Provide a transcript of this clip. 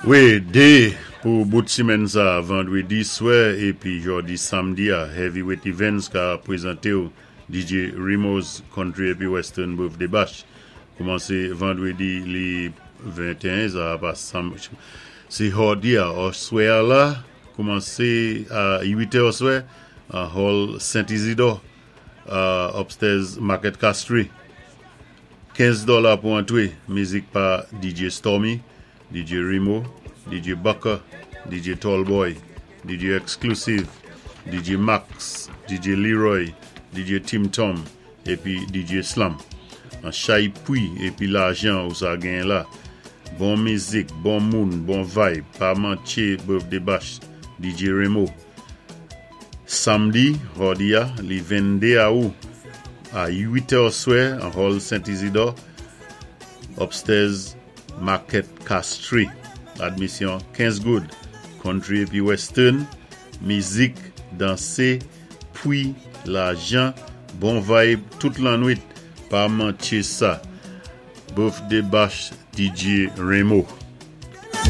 Wi, dé pou bout simenn sa, vandwédi swè épi jòdi samdi-a, Heavyweight Events ka pwézanté-w DJ Remo's Country épi Western Birthday Bash. Koumansé vandwédi li 21, sa pa sam, sé jòdi-a, oswè-a la, koumansé a 8 è oswè, an Hall Saint Isidore, upstairs Market Castries. 15 dola pou antré, mizik pa DJ Stormy, DJ Remo, DJ Bucker, DJ Tallboy, DJ Exclusive, DJ Max, DJ Leroy, DJ Tim Tom, épi DJ Slam. An chay pwi épi lajan ou sa genyen la. Bon mizik, bon moun, bon vibe, pa mantché Birthday Bash, DJ Remo. Samdi, jòdi-a, li 22 awou, a 8 è oswè, an Hall Saint Isidore, upstairs Market Castries. Admisyon 15 goud. Country épi western, mizik, dansé, pwi, lajan, bon vibe tout lannwit. Pa mantché sa. Birthday Bash DJ Remo.